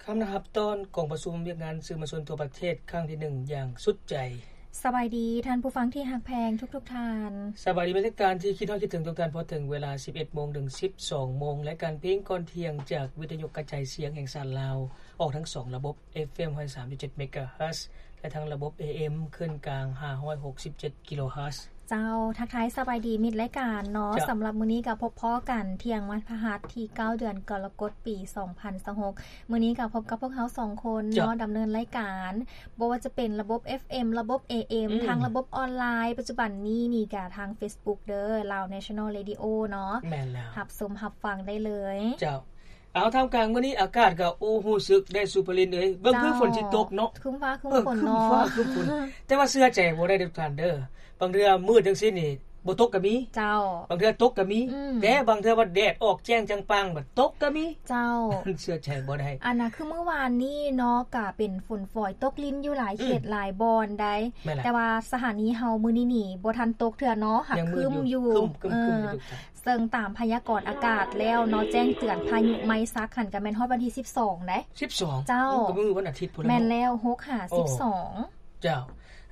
ພ້ອມນະຮັບຕ້ອນກອງປະຊຸມວຽກງານສື່ມວນຊົນທົ່ວປະເທດຄັ້ງທີໜຶ່ງຢ່າງສຸດໃຈ. ສະບາຍດີທ່ານຜູ້ຟັງທີ່ຮັກແພງທຸກໆທ່ານ. ສະບາຍດີແຟນລາຍການທີ່ຄິດຮອດຄິດເຖິງທຸກທ່ານ. ພໍເຖິງເວລາສິບເອັດໂມງເຖິງສິບສອງໂມງ ລາຍການເພງກ່ອນທ່ຽງຈາກວິທະຍຸກະຈາຍສຽງແຫ່ງຊາດລາວ ອອກທັງສອງລະບົບ ເອັຟເອັມ ຮ້ອຍສາມຈຸດເຈັດ ເມກາເຮີດ ແລະ ທັງລະບົບ ເອເອັມ ຄື້ນກາງ ຫ້າຮ້ອຍຫົກສິບເຈັດ ກິໂລເຮີດ. ເຈົ້າ ທັກທາຍສະບາຍດີມິດລາຍການເນາະ. ເຈົ້າ ສຳລັບມື້ນີ້ກໍພົບພໍ້ກັນທ່ຽງວັນພະຫັດທີເກົ້າ ເດືອນກໍລະກົດ ປີສອງພັນຊາວຫົກ. ມື້ນີ້ກໍພົບກັບພວກເຮົາສອງຄົນເນາະ ເຈົ້າ ດຳເນີນລາຍການ ບໍ່ວ່າຈະເປັນລະບົບ ເອັຟເອັມ ລະບົບ ເອເອັມ ອືມ ທາງລະບົບອອນລາຍ ປັດຈຸບັນນີ້ນີ້ກໍທາງເຟສບຸກເດີ ລາວ National Radio ເນາະ. ແມ່ນແລ້ວ ຮັບຊົມຮັບຟັງໄດ້ເລີຍ. ເຈົ້າ ເອົາ ທ່າມກາງມື້ນີ້ອາກາດກໍ ໂອ້ ຮູ້ສຶກໄດ້ສຸພະລິນເອີຍ ເບິ່ງຄືຝົນຊິຕົກເນາະ. ເອີ ຄຶ້ມຟ້າຄຶ້ມຝົນເນາະ ເອີ ຄຶ້ມຟ້າຄຶ້ມຝົນ ແຕ່ວ່າເຊື່ອໃຈບໍ່ໄດ້ເດີທ່ານເດີ. ບາງເທື່ອມືດຈັ່ງຊີ້ນີ້ບໍ່ຕົກກໍມີ. ເຈົ້າ ບາງເທື່ອຕົກກໍມີ. ອືມ ແຕ່ບາງເທື່ອວ່າແດດອອກແຈ້ງຈັງປາງ ບັດຕົກກໍມີ. ເຈົ້າ ເຊື່ອໃຈບໍ່ໄດ້. ອັນນ່າ ຄືມື້ວານນີ້ເນາະ ກະເປັນຝົນຝອຍຕົກລິນຢູ່ຫຼາຍເຂດ ອືມ ຫຼາຍບ່ອນໃດ໋. ແມ່ນແຫຼະ ແຕ່ວ່າສະຖານີເຮົາມື້ນີ້ນີ້ບໍ່ທັນຕົກເທື່ອເນາະ ຫາກຄຶ້ມຢູ່ ຄຶ້ມໆໆ ເອີ ຢູ່. ເຊິ່ງຕາມພະຍາກອນອາກາດແລ້ວເນາະ ແຈ້ງເຕືອນພາຍຸໄມຊັກຫັ້ນກະແມ່ນຮອດວັນທີສິບສອງໃດ໋. ສິບສອງ ເຈົ້າ ໂອ້ ກໍມື້ວັນອາທິດພຸ້ນແຫຼະ ແມ່ນແລ້ວ ຫົກຫາສິບສອງ. ໂອ້ ເຈົ້າ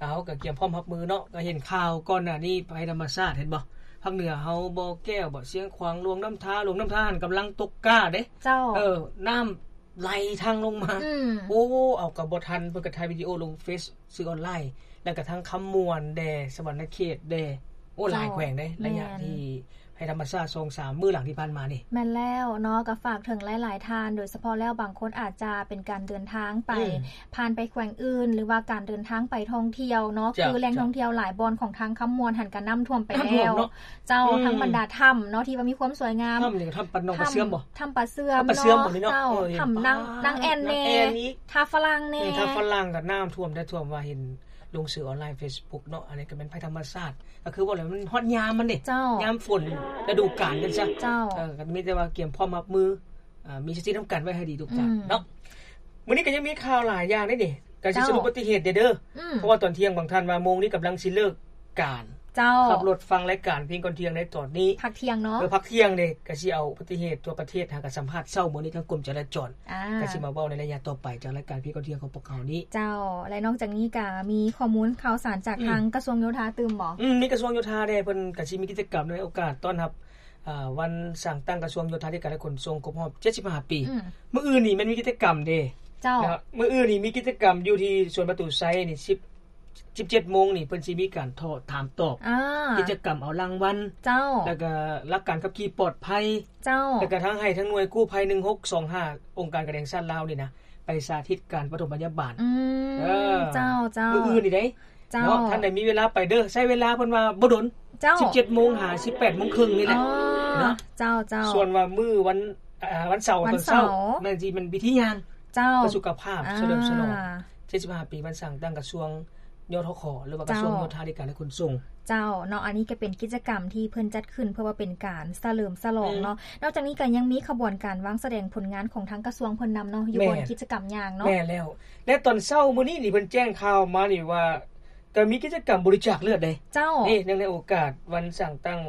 ເອົາ ກໍກຽມພ້ອມຮັບມືເນາະ. ກໍເຫັນຂ່າວກ່ອນໜ້ານີ້ ໄພທຳມະຊາດ ເຫັນບໍ່ ພາກເໜືອເຮົາ ບໍ່ແກ້ວ ບໍ່ຊຽງຂວາງ ຫຼວງນ້ຳທາ ຫຼວງນ້ຳທາຫັ້ນກຳລັງຕົກກ້າເດ້. ເຈົ້າ ເອີ ນ້ຳໄຫຼທັ່ງລົງມາ. ອືມ ໂອ້ ເອົາ ກໍບໍ່ທັນ ເພິ່ນກໍຖ່າຍວິດີໂອລົງເຟສ ສື່ອອນລາຍ ແລ້ວກະທັງຄຳມ່ວນແດ່ ສະຫວັນນະເຂດແດ່. ໂອ້ ເຈົ້າ ຫຼາຍແຂວງເດ້ ແມ່ນ ໄລຍະທີ່ໄພທຳມະຊາດສອງສາມມື້ຫຼັງທີ່ຜ່ານມານີ້. ແມ່ນແລ້ວເນາະ ກໍຝາກເຖິງຫຼາຍໆທ່ານ ໂດຍສະເພາະແລ້ວບາງຄົນອາດຈະເປັນການເດີນທາງໄປ ອືມ ຜ່ານໄປແຂວງອື່ນ ຫຼືວ່າການເດີນທາງໄປທ່ອງທ່ຽວເນາະ. ເຈົ້າ ຄືແຫຼ່ງ ເຈົ້າ ທ່ອງທ່ຽວຫຼາຍບ່ອນຂອງທາງຄຳມ່ວນຫັ້ນກະນ້ຳຖ້ວມໄປແລ້ວ. ນ້ຳຖ້ວມເນາະ. ເຈົ້າ ອືມ ທັງບັນດາຖ້ຳເນາະ ທີ່ວ່າມີຄວາມສວຍງາມ. ຖ້ຳນີ້ກໍຖ້ຳປາດໜອງປາເຊື່ອມບໍ່? ຖ້ຳປາເຊື່ອມ ຖ້ຳປາເຊື່ອມເນາະ. ເຈົ້າ ອືມ ຖ້ຳນາງ ນາງແອ່ນແດ່ ນາງແອ່ນອີກ ທ່າຝຣັ່ງແດ່. ເອີ ທ່າຝຣັ່ງກໍນ້ຳຖ້ວມແທ້ ຖ້ວມວ່າເຫັນລົງສື່ອອນລາຍເຟສບຸກເນາະ. ອັນນີ້ກໍແມ່ນໄພທຳມະຊາດ ກໍຄືວ່າແລ້ວມັນຮອດຍາມມັນເດ້. ເຈົ້າ ຍາມຝົນລະດູການກັນຊະ. ເຈົ້າ ເອີ ກໍມີແຕ່ວ່າກຽມພ້ອມຮັບມື ເອີ ມີສະຕິນຳກັນໄວ້ໃຫ້ດີທຸກທ່ານເນາະ. ອືມ ມື້ນີ້ກໍຍັງມີຂ່າວຫຼາຍຢ່າງເດ້ນີ້ ກໍຊິ ເຈົ້າ ສະຫຼຸບອຸບັດຕິເຫດເດີ ອືມ ເພາະວ່າຕອນທ່ຽງບາງທ່ານວ່າໂມງນີ້ກຳລັງຊິເລີກການ. ເຈົ້າ ຂັບລົດຟັງລາຍການເພງກ່ອນທ່ຽງໃນຕອນນີ້ ພັກທ່ຽງເນາະ. ເອີ ພັກທ່ຽງເດ້ ກໍຊິເອົາອຸບັດຕິເຫດທົ່ວປະເທດ ຫາກະສຳພາດເຊົ້າມື້ນີ້ທາງກົມຈະລາຈອນ ອ່າ ກໍຊິມາເວົ້າໃນໄລຍະຕໍ່ໄປຈາກລາຍການເພງກ່ອນທ່ຽງຂອງພວກເຮົານີ້. ເຈົ້າ ແລະ ນອກຈາກນີ້ກໍມີຂໍ້ມູນຂ່າວສານຈາກ ອືມ ທາງກະຊວງໂຍທາຕື່ມບໍ່? ອືມ ມີກະຊວງໂຍທາເດ້ ເພິ່ນກໍຊິມີກິດຈະກຳໃນໂອກາດຕ້ອນຮັບ ອ່າ ວັນສ້າງຕັ້ງກະຊວງໂຍທາທິການ ແລະ ຂົນສົ່ງຄົບຮອບເຈັດສິບຫ້າປີ. ອືມ ມື້ອື່ນນີ້ແມ່ນມີກິດຈະກຳເດ້. ເຈົ້າ ນະ ມື້ອື່ນນີ້ມີກິດຈະກຳຢູ່ທີ່ສວນປະຕູໄຊນີ້ ສິບ ສິບເຈັດໂມງນີ້ ເພິ່ນຊິມີການຖາມຕອບ ອ່າ ກິດຈະກຳເອົາລາງວັນ. ເຈົ້າ ແລ້ວກະຫຼັກການຂັບຂີ່ປອດໄພ. ເຈົ້າ ແລ້ວກະທາງໃຫ້ທາງໜ່ວຍກູ້ໄພໜຶ່ງຫົກສອງຫ້າ ອົງການການແຫ່ງຊາດລາວນີ້ນະ ໄປສາທິດການປະຖົມພະຍາບານ. ອືມ ເອີ ເຈົ້າ ເຈົ້າ ມື້ອື່ນນີ້ເດ້. ເຈົ້າ ເນາະ ທ່ານໃດມີເວລາໄປເດີ ໃຊ້ເວລາເພິ່ນວ່າບໍ່ດົນ. ເຈົ້າ ສິບເຈັດໂມງຫາສິບແປດໂມງເຄິ່ງນີ້ແຫຼະ. ອໍ ເນາະ ເຈົ້າ ເຈົ້າ ສ່ວນວ່າມື້ວັນ ອ່າ ວັນເສົາ ວັນເສົາ ຕອນເຊົ້າ ແມ່ນຊິແມ່ນພິທີຍ່າງ ເຈົ້າ ເພື່ອສຸຂະພາບ ອ່າ ສະເຫຼີມສະຫຼອງເຈັດສິບຫ້າປີ ວັນສ້າງຕັ້ງກະຊວງ ຍທຂ ຫຼືວ່າກະຊວງ ເຈົ້າ ໂຍທາທິການ ແລະ ຂົນສົ່ງ. ເຈົ້າ ເນາະ ອັນນີ້ກໍເປັນກິດຈະກຳທີ່ເພິ່ນຈັດຂຶ້ນເພື່ອວ່າເປັນການສະເຫຼີມສະຫຼອງເນາະ. ອືມ ນອກຈາກນີ້ກໍຍັງມີຂະບວນການວາງສະແດງຜົນງານຂອງທາງກະຊວງເພິ່ນນຳເນາະ ຢູ່ບ່ອນ ແມ່ນ ກິດຈະກຳຢ່າງເນາະ. ແມ່ນແລ້ວ ແລະ ຕອນເຊົ້າມື້ນີ້ນີ້ ເພິ່ນແຈ້ງຂ່າວມານີ້ວ່າ ກໍມີກິດຈະກຳບໍລິຈາກເລືອດເດ້. ເຈົ້າ ນີ້ ເນື່ອງໃນໂອກາດວັນສ້າງຕັ້ງ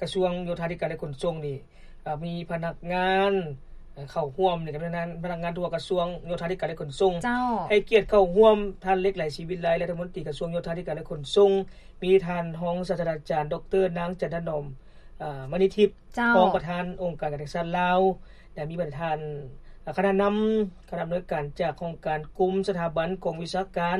ກະຊວງໂຍທາທິການ ແລະ ຂົນສົ່ງນີ້ ເອີ ມີພະນັກງານ ເອີ ເຂົ້າຮ່ວມໃນຈຳນວນນັ້ນ ພະນັກງານທົ່ວກະຊວງໂຍທາທິການ ແລະ ຂົນສົ່ງ. ເຈົ້າ ໃຫ້ກຽດເຂົ້າຮ່ວມທ່ານ ເລັກໄຫຼ ສີວິໄລ ລັດຖະມົນຕີກະຊວງໂຍທາທິການ ແລະ ຂົນສົ່ງ, ມີທ່ານຮອງສາດສະດາຈານ ດຣ ນາງ ຈັນທະໜອມ ເອີ ມະນີທິບ ເຈົ້າ ຮອງປະທານອົງການການແຫ່ງຊາດລາວ ແລະ ມີປະທານ ເອີ ຄະນະນຳ ຄະນະອຳນວຍການຈາກຫ້ອງການ ກົມ ສະຖາບັນ ກອງວິຊາການ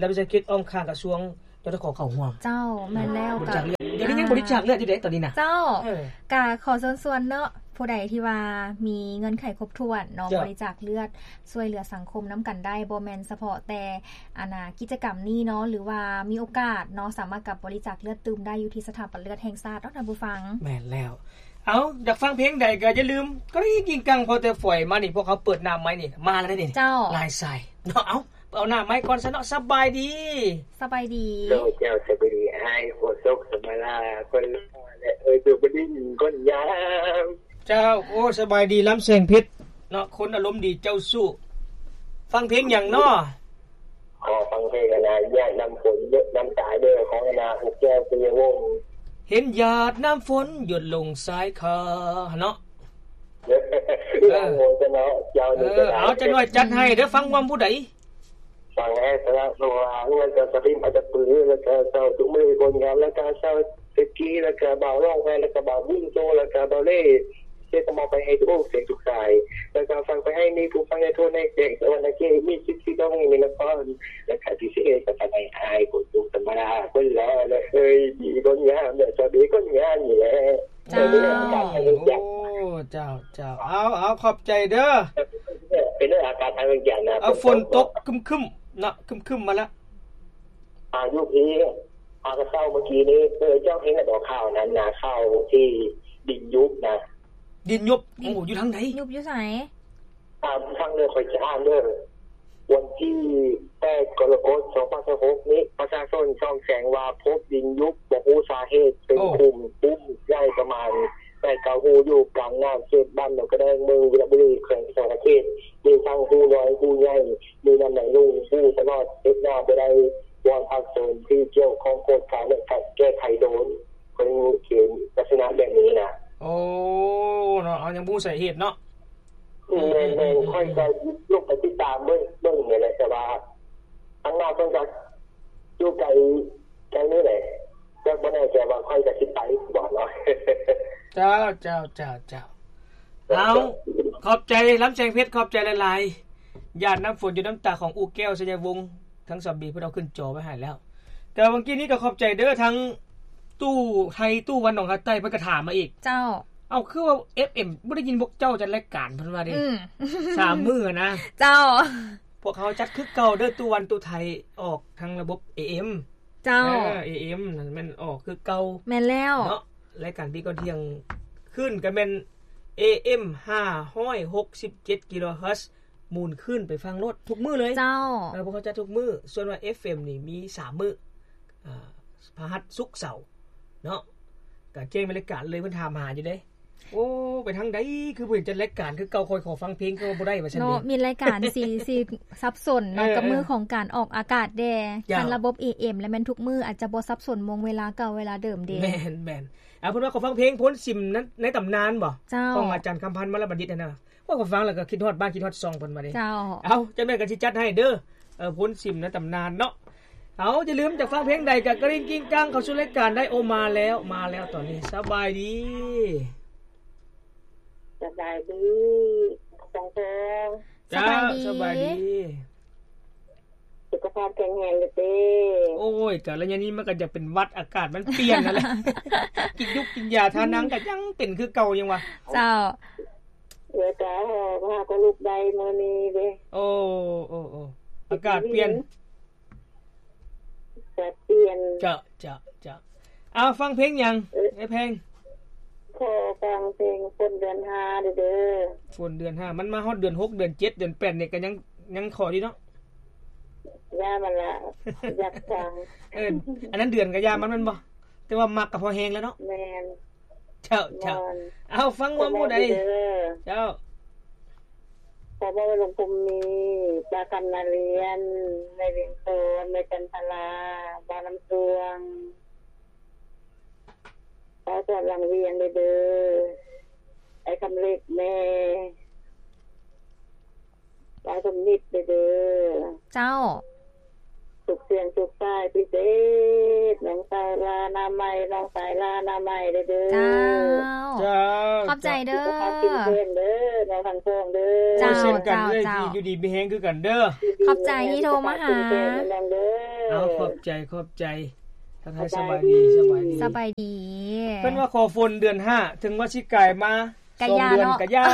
ລັດວິສາຫະກິດອ້ອມຂ້າງກະຊວງ ຈທຂ ເຂົ້າຮ່ວມ. ເຈົ້າ ແມ່ນແລ້ວ ບໍລິຈາກເລືອດ ດຽວນີ້ຍັງ ອ່າ ບໍລິຈາກເລືອດຢູ່ເດ້ຕອນນີ້ນະ. ເຈົ້າ ເອີ ກະຂໍເຊີນຊວນເນາະ ຜູ້ໃດທີ່ວ່າມີເງື່ອນໄຂຄົບຖ້ວນເນາະ ເຈົ້າ ບໍລິຈາກເລືອດ ຊ່ວຍເຫຼືອສັງຄົມນຳກັນໄດ້ ບໍ່ແມ່ນສະເພາະແຕ່ ອັນນ່າ ກິດຈະກຳນີ້ເນາະ ຫຼືວ່າມີໂອກາດເນາະ ສາມາດກັບບໍລິຈາກເລືອດຕື່ມໄດ້ຢູ່ທີ່ສະຖາບັນເລືອດແຫ່ງຊາດເນາະ ທ່ານຜູ້ຟັງ. ແມ່ນແລ້ວ. ເອົາ ຢາກຟັງເພງໃດກໍຢ່າລືມ ກະລິງກິງກັງ ເພາະແຕ່ຝອຍມານີ້ ພວກເຮົາເປີດໜ້າໄມ້ນີ້ ມາແລ້ວເດ້ນີ້. ເຈົ້າ ຫຼາຍສາຍເນາະ. ເອົາ ເອົາໜ້າໄມ້ກ່ອນຊະເນາະ. ສະບາຍດີ. ສະບາຍດີ. ໂດຍ ເຈົ້າ ສະບາຍດີ ອ້າຍໂຄສົກ ສະມາລາ ຄົນຫຼໍ່ ແລະ ເອີຍ ໂດຍບໍ່ໄດ້ຍິນຄົນງາມ. ເຈົ້າ ໂອ້ ສະບາຍດີ ລຳແສງເພັດເນາະ ຄົນອາລົມດີເຈົ້າຊູ້. ຟັງເພງຫຍັງເນາະ? ຂໍຟັງເພງ ອັນນ່າ ຫຍາດນ້ຳຝົນ ຢົດນ້ຳຕາເດີ ຂອງ ອັນນ່າ ຜູ້ແກ້ວ ປີຍະວົງ. ເຫັນຫຍາດນ້ຳຝົນ ຢົດລົງຊາຍຄາ ຫັ້ນເນາະ. ເອີ ເອີ ເຈົ້າ ເຈົ້າ ເອີ ເຈົ້າ ເອົາ ຈັກໜ້ອຍຈັດໃຫ້ເດີ ຟັງຮ່ວມຜູ້ໃດ? ຟັງແອດ ແລ້ວ ເພາະວ່າເຮືອນເຈົ້າສະພິມ ອາດຈະປື ແລ້ວກໍເຊົ່າທຸກມື້ຄົນງານ ແລ້ວກໍເຊົ່າ ເຈັກກີ ແລ້ວກະບ່າວຮ້ອງໄຫ້ ແລ້ວກະບ່າວບຸນໂຕ ແລ້ວກະບ່າວເລ່ ເສຍກະມອບໄປໃຫ້ທຸກອົງເສງທຸກສາຍ ແລ້ວກະຝາກໄປໃຫ້ມີຜູ້ຟັງໃນທົ່ວໃນແຂວງສະຫວັນນະເຂດ ມີສິດສິດຮ້ອງໃນນະຄອນ ແລ້ວກະພິເສດກະຝາກໃຫ້ອ້າຍຄົນທຸກທຳມະດາຄົນຫຼໍ່ ແລະເຄີຍດີຄົນງາມ ແລະສາວເບຄົນງາມນີ້ແຫຼະ. ເຈົ້າ ໂອ້ ເຈົ້າ ເຈົ້າ ເອົາ ເອົາ ຂອບໃຈເດີ. ເປັນເລື່ອງອາກາດທາງວຽງຈັນນະ ເອົາ ຝົນຕົກຄຶ້ມໆເນາະ ຄຶ້ມໆມາແລ້ວ. ອາ ຢູ່ພີ້ ອາ ກະເຊົ້າມື້ກີ້ນີ້ ເອີ ເຈົ້າເຫັນແລ້ວບໍ່ຂ່າວນັ້ນນະ ຂ່າວທີ່ດິນຍຸບນະ? ດິນຍຸບ? ໂອ້ ຢູ່ທາງໃດ? ຍຸບຢູ່ໃສ? ອາ ຟັງເດີ ຂ້ອຍຈະອ່ານເດີ ວັນທີແປດ ກໍລະກົດ ສອງພັນຊາວຫົກນີ້ ປະຊາຊົນສອງແຂວງວ່າພົບດິນຍຸບ ບໍ່ຮູ້ສາເຫດ ເປັນຂຸມ ໂອ້ ຂຸມໃຫຍ່ປະມານແປດເກົ້າຮູ ຢູ່ກາງນ້ຳ ເຂດບ້ານໜອງກະແດງ ເມືອງວິລະບູລີ ແຂວງສະຫວັນນະເຂດ ມີທັງຮູນ້ອຍ ຮູໃຫຍ່ ມີນ້ຳໄຫຼລົງຮູຕະຫຼອດ ເຮັດນາບໍ່ໄດ້. ວອນພາກສ່ວນທີ່ກ່ຽວຂ້ອງກວດກາ ແລະ ແກ້ໄຂໂດຍ ເພິ່ນເຂດລັກສະນະແບບນີ້ນະ. ໂອ້ ເນາະ ເຮົາຍັງບໍ່ຮູ້ສາເຫດເນາະ. ແມ່ນໆ ຂ້ອຍກໍລົງໄປຕິດຕາມເບິ່ງ ເບິ່ງນີ້ແຫຼະ ແຕ່ວ່າທາງໜ້າເພິ່ນກໍຢູ່ໄກ ໄກນີ້ແຫຼະ ກໍບໍ່ແນ່ໃຈວ່າຂ້ອຍກໍຊິໄປບໍ່ເນາະ. ເຈົ້າ ເຈົ້າ ເຈົ້າ ເຈົ້າ ເອົາ ຂອບໃຈ ລຳແສງເພັດ ຂອບໃຈຫຼາຍໆ. ຢາດນ້ຳຝົນຢູ່ນ້ຳຕາຂອງອູ້ແກ້ວ ໄຊຍະວົງ ທັງສອງປີເພິ່ນເອົາຂຶ້ນຈໍໄວ້ໃຫ້ແລ້ວ. ແຕ່ວ່າເມື່ອກີ້ນີ້ກໍຂອບໃຈເດີ ທັງຕູ້ໄທ ຕູ້ວັນໜອງຫາດໃຕ້ ເພິ່ນກໍຖາມມາອີກ. ເຈົ້າ ເອົາ ຄືວ່າເອັຟເອັມບໍ່ໄດ້ຍິນພວກເຈົ້າຈັດລາຍການ ເພິ່ນວ່າເດ້. ອືມ ສາມມື້ນະ. ເຈົ້າ ພວກເຮົາຈັດຄືເກົ່າເດີ ຕູ້ວັນຕູ້ໄທ ອອກທາງລະບົບເອເອັມ. ເຈົ້າ ເອີ ເອເອັມນັ້ນແມ່ນອອກຄືເກົ່າ. ແມ່ນແລ້ວເນາະ ລາຍການປີກ່ອນທ່ຽງຄືນກໍແມ່ນ ເອເອັມຫ້າຮ້ອຍຫົກສິບເຈັດກິໂລເຮີດ ໝູນຄືນໄປຟັງໂລດທຸກມື້ເລີຍ. ເຈົ້າ ເອີ ພວກເຂົາຈັດທຸກມື້. ສ່ວນວ່າເອັຟເອັມນີ້ມີສາມມື້ ອາ ພະຫັດ ສຸກ ເສົາເນາະ ກະແຈ້ງບັນຍາກາດເລີຍ. ເພິ່ນຖາມຫາຢູ່ເດ້ ໂອ້ ໄປທາງໃດ ຄືບໍ່ເຫັນຈັດລາຍການຄືເກົ່າ ຂ້ອຍຂໍຟັງເພງກໍບໍ່ໄດ້ວ່າຊັ້ນເນາະ. ມີລາຍການຊິ ຊິສັບສົນເນາະ ເອີ ກັບມື້ຂອງການອອກອາກາດແດ່. ເຈົ້າ ຄັນລະບົບເອເອັມແລ້ວແມ່ນທຸກມື້ ອາດຈະບໍ່ສັບສົນໂມງເວລາເກົ່າເວລາເດີມເດ້. ແມ່ນໆ. ອາ ເພິ່ນວ່າຂໍຟັງເພງໂພນຊິມໃນ ໃນຕຳນານບໍ່? ເຈົ້າ ຂອງອາຈານຄຳພັນ ມະລະບັນດິດຫັ້ນນະ. ໂອ້ຍ ຂ້ອຍຟັງແລ້ວກໍຄິດຮອດບ້ານ ຄິດຮອດຊ່ອງເພິ່ນວ່າເດ້. ເຈົ້າ ເອົາ ຈັ່ງໃດກໍຊິຈັດໃຫ້ເດີ ເອີ ໂພນຊິມໃນຕຳນານເນາະ. ເອົາ ຢ່າລືມຈະຟັງເພງໃດກໍກະລິ່ງກິ້ງກັງເຂົ້າສູ່ລາຍການໄດ້. ໂອ ມາແລ້ວ ມາແລ້ວຕອນນີ້. ສະບາຍດີ ສະບາຍດີ ສອງຄົນ. ເຈົ້າ ສະບາຍດີ ສະບາຍດີ. ສຸຂະພາບແຂງແຮງເດີເຕ້. ໂອ້ຍ ກະໄລຍະນີ້ມັນກໍຢາກເປັນຫວັດ ອາກາດມັນປ່ຽນຫັ້ນແຫຼະ ກິນຍຸກກິນຢາທານັງກໍຍັງເປັນຄືເກົ່າຍັງວ່າ. ເຈົ້າ ເອີ ກະ ເອີ ພາກໍລຸກໄດ້ມື້ນີ້ເດ້. ໂອ້ ໂອ້ ໂອ້ ອາກາດປ່ຽນ ອາກາດປ່ຽນ. ເຈົ້າ ເຈົ້າ ເຈົ້າ. ເອົາ ຟັງເພງຫຍັງ ເອີ ໄອ້ແພງ? ຂໍຟັງເພງຝົນເດືອນຫ້າເດີ. ຝົນເດືອນຫ້າ ມັນມາຮອດເດືອນຫົກ ເດືອນເຈັດ ເດືອນແປດນີ້ກໍຍັງ ຍັງຂໍຢູ່ເນາະ. ຢ່າມັນລະ ຢາກຟັງ. ເອີ ອັນນັ້ນເດືອນກໍຢ່າມັນແມ່ນບໍ່? ແຕ່ວ່າມັກກໍພໍແຮງແລ້ວເນາະ. ແມ່ນ. ເຈົ້າ ເຈົ້າ. ເອົາ ຟັງຮ່ວມຜູ້ໃດ? ເຈົ້າ ຂໍບອກວ່າ ລຸງພູມມີ ປ້າຄຳນາລຽນ ແມ່ວຽງໂຕນ ແມ່ຈັນທະລາ ບ່າວນ້ຳສວງ ປ້າສອນຫຼັງວຽງເດີ ອ້າຍຄຳເລັກແດ່ ປ້າສົມນິດເດີ. ເຈົ້າ ສຸກສຽງສຸກສາຍພິເສດ ນ້ອງສາວລານາໄມ ນ້ອງຊາຍລານາໄມເດີ. ເຈົ້າ ເຈົ້າ ຂອບໃຈເດີ ສຸຂະພາບເຂັ້ມແຂງເດີ ນ້ອງທັງສອງເດີ. ເຈົ້າ ເຊັ່ນກັນເອີຍ ເຈົ້າ ຢູ່ດີມີແຮງຄືກັນເດີ. ຂອບໃຈທີ່ໂທມາຫາ. ເອົາ ຂອບໃຈ ຂອບໃຈ. ທັກທາຍສະບາຍດີ ສະບາຍດີ ສະບາຍດີ. ເພິ່ນວ່າຂໍຝົນເດືອນຫ້າ ເຖິງວ່າຊິກາຍມາ ກະຢ່າເນາະ ກະຢ່າ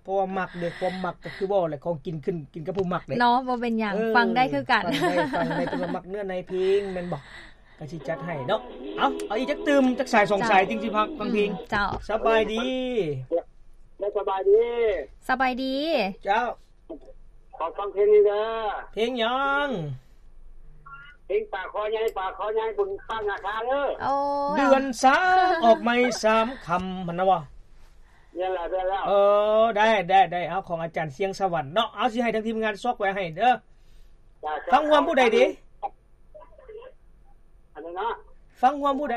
ເພາະວ່າມັກເດ້ ຄວາມມັກກໍຄືເວົ້າແຫຼະ ຂອງກິນຂຶ້ນ ກິນກັບຜູ້ມັກເດ້ເນາະ. ບໍ່ເປັນຫຍັງ ເອີ ຟັງໄດ້ຄືກັນ ຟັງໄດ້ ຟັງໄດ້ ເພາະວ່າມັກເນື້ອໃນເພງແມ່ນບໍ່ ກໍຊິຈັດໃຫ້ເນາະ. ເອົາ ເອົາອີກຈັກຕື່ມ ຈັກສາຍສອງສາຍ ເຈົ້າ ຈຶ່ງຊິພັກຟັງເພງ. ເຈົ້າ ສະບາຍດີ ສະບາຍດີ ສະບາຍດີ. ເຈົ້າ ຂໍຟັງເພງນີ້ເດີ. ເພງຫຍັງ? ເພງປາຄໍໃຫຍ່ ປາຄໍໃຫຍ່ ບຸນປາກນາຄາເດີ. ໂອ້ ເດືອນສາມ ອອກໃໝ່ສາມຄຳຫັ້ນນະບໍ່? ແມ່ນແລ້ວ ແມ່ນແລ້ວ. ເອີ ໄດ້ ໄດ້ ໄດ້. ເອົາ ຂອງອາຈານຊຽງສະຫວັນເນາະ. ເອົາ ຊິໃຫ້ທາງທີມງານຊອກໄວ້ໃຫ້ເດີ. ເຈົ້າ ເຈົ້າ. ຟັງຮ່ວມຜູ້ໃດດີ? ອັນນີ້ເນາະ ຟັງຮ່ວມຜູ້ໃດ?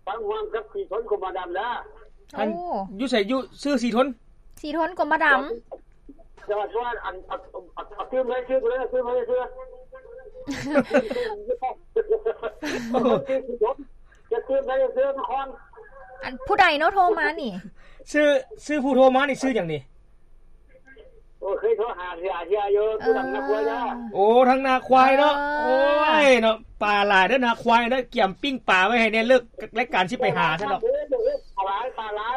ຟັງຮ່ວມກັບສີຊົນຄົມມະດຳເດີ. ອັນ ໂອ້ ຢູ່ໃສ? ຢູ່ຊື່ສີທົນ ສີທົນ ກົມມະດຳ. ຈະວ່າ ອັນ ເອົາ ເອົາ ເອົາຕື່ມໃສ່ຊື່ ເອົາຕື່ມໃສ່ຊື່ ຈະຕື່ມໃສ່ຊື່ນະຄອນ. ອັນ ຜູ້ໃດເນາະໂທມານີ້? ຊື່ ຊື່ຜູ້ໂທມານີ້ຊື່ຫຍັງນີ້? ໂອ້ ເຄີຍໂທຫາເສຍເສຍຢູ່ ເອີ ຜູ້ນຳນາຄວາຍເນາະ. ໂອ້ ທາງນາຄວາຍເນາະ. ເອີ ໂອ້ຍເນາະ ປາຫຼາຍເດີນາຄວາຍເດີ ກຽມປີ້ງປາໄວ້ໃຫ້ແດ່ ເລີກລາຍການຊິໄປຫາຊະດອກ. ປາຫຼາຍ ປາຫຼາຍ.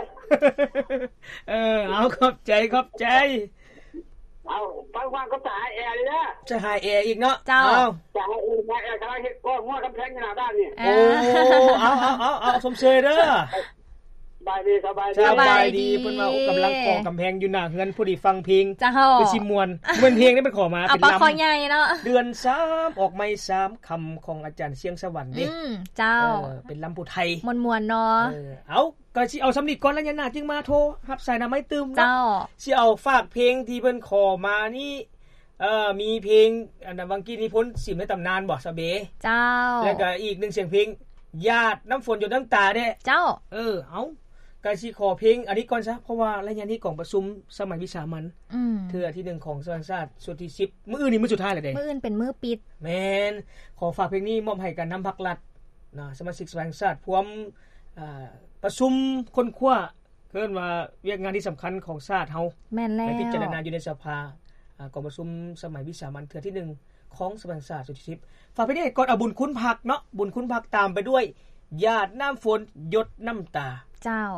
ເອີ ເອົາ ຂອບໃຈ ຂອບໃຈ. ເອົາ ຟັງໆ ກໍຈະຫາແອອີກເດີ ຈະຫາແອອີກເນາະ. ເຈົ້າ ເອົາ ຈະຫາແອ ຈະຫາແອກຳລັງເຮັດກໍຫົວກຳແພງຢູ່ໜ້າບ້ານນີ້. ເອີ ໂອ້ ເອົາ ເອົາ ເອົາ ເອົາ ຊົມເຊີຍເດີ. ສະບາຍດີ ສະບາຍດີ ສະບາຍດີ. ເພິ່ນວ່າ ໂອ້ ກຳລັງກໍ່ກຳແພງຢູ່ໜ້າເຮືອນ ພໍດີຟັງເພງ ເຈົ້າ ຄືຊິມ່ວນ. ແມ່ນເພງນີ້ເພິ່ນຂໍມາ ເອົາ ເປັນລຳ ຄອໃຫຍ່ເນາະ ເດືອນສາມອອກໃໝ່ສາມຄຳ ຂອງອາຈານຊຽງສະຫວັນເດ້. ອືມ ເຈົ້າ ເອີ ເປັນລຳຜູ້ໄທ ມ່ວນໆເນາະ. ເອີ ເອົາ ກໍຊິເອົາສ່ຳນີ້ກ່ອນ ໄລຍະໜ້າຈຶ່ງມາໂທຮັບສາຍນຳໃໝ່ຕື່ມເນາະ. ເຈົ້າ ຊິເອົາຝາກເພງທີ່ເພິ່ນຂໍມານີ້ ເອີ ມີເພງ ອັນ ວັງກີນິພົນ ສິມໃນຕຳນານບໍ່ ສາວເບ? ເຈົ້າ ແລ້ວກໍອີກໜຶ່ງສຽງເພງ ຢາດນ້ຳຝົນຢົດນ້ຳຕາເດ້. ເຈົ້າ ເອີ ເອົາ ກະຊິຂໍເພງອັນນີ້ກ່ອນຊະ ເພາະວ່າໄລຍະນີ້ກອງປະຊຸມສະໄໝວິສາມັນ ອືມ ເທື່ອທີໜຶ່ງຂອງສະພາແຫ່ງຊາດຊຸດທີສິບ ມື້ອື່ນນີ້ມື້ສຸດທ້າຍແລ້ວເດ້ ມື້ອື່ນເປັນມື້ປິດ. ແມ່ນ ຂໍຝາກເພງນີ້ມອບໃຫ້ກັນນຳພັກລັດນະ ສະມາຊິກສະພາແຫ່ງຊາດ ພວມ ອ່າ ປະຊຸມຄົ້ນຄວ້າ ເອີ້ນວ່າວຽກງານທີ່ສຳຄັນຂອງຊາດເຮົາ. ແມ່ນແລ້ວ ໄປພິຈາລະນາຢູ່ໃນສະພາ ອາ ກອງປະຊຸມສະໄໝວິສາມັນເທື່ອທີໜຶ່ງຂອງສະພາແຫ່ງຊາດຊຸດທີສິບ. ຝາກເພງນີ້ກ່ອນ ເອົາບຸນຄຸນພັກເນາະ ບຸນຄຸນພັກ ຕາມໄປດ້ວຍ ຢາດນ້ຳຝົນຢົດນ້ຳຕາ. ເຈົ້າ